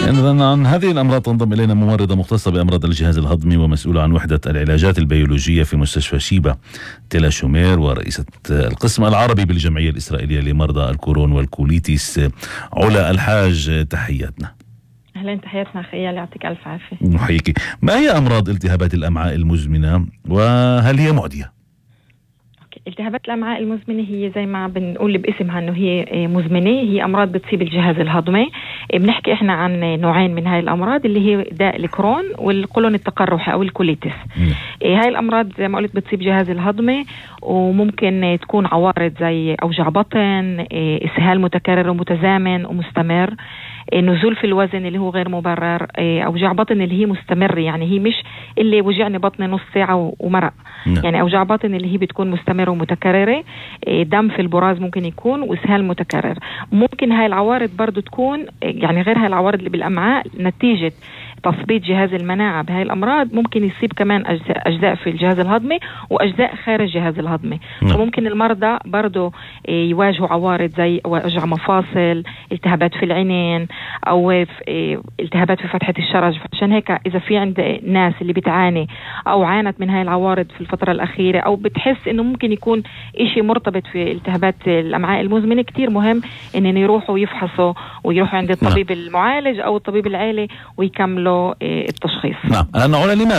إذن عن هذه الأمراض تنضم إلينا ممرضة مختصة بأمراض الجهاز الهضمي ومسؤولة عن وحدة العلاجات البيولوجية في مستشفى شيبة تيلا شومير، ورئيسة القسم العربي بالجمعية الإسرائيلية لمرضى الكورون والكوليتيس، علا الحاج. تحياتنا. أهلا، تحياتنا خيال، يعطيك ألف عافية. نحييكي. ما هي أمراض التهابات الأمعاء المزمنة وهل هي معدية؟ التهابات الأمعاء المزمنة هي زي ما بنقول باسمها انه هي مزمنة، هي أمراض بتصيب الجهاز الهضمي. بنحكي احنا عن نوعين من هاي الأمراض اللي هي داء الكرون والقولون التقرحي أو الكوليتس. هاي الأمراض زي ما قلت بتصيب الجهاز الهضمي، وممكن تكون عوارض زي أوجاع بطن، إسهال متكرر ومتزامن ومستمر، نزول في الوزن اللي هو غير مبرر، أوجاع بطن اللي هي مستمر، يعني هي مش اللي وجعني بطني نص ساعة ومرق، يعني أوجاع بطن اللي هي بتكون مستمرة ومتكررة، دم في البراز ممكن يكون، وإسهال متكرر. ممكن هاي العوارض برضو تكون يعني غير هاي العوارض اللي بالأمعاء نتيجة تثبيط جهاز المناعة بهاي الأمراض، ممكن يصيب كمان أجزاء في الجهاز الهضمي وأجزاء خارج الجهاز الهضمي. وممكن المرضى برضو يواجهوا عوارض زي وجع مفاصل، التهابات في العينين، أو التهابات في فتحة الشرج. عشان هيك إذا في عند ناس اللي بتعاني أو عانت من هاي العوارض في الفترة الأخيرة، أو بتحس إنه ممكن يكون إشي مرتبط في التهابات الأمعاء المزمنة، كتير مهم إن يروحوا يفحصوا ويروحوا عند الطبيب المعالج أو الطبيب العائلي ويكملوا التشخيص. نعم.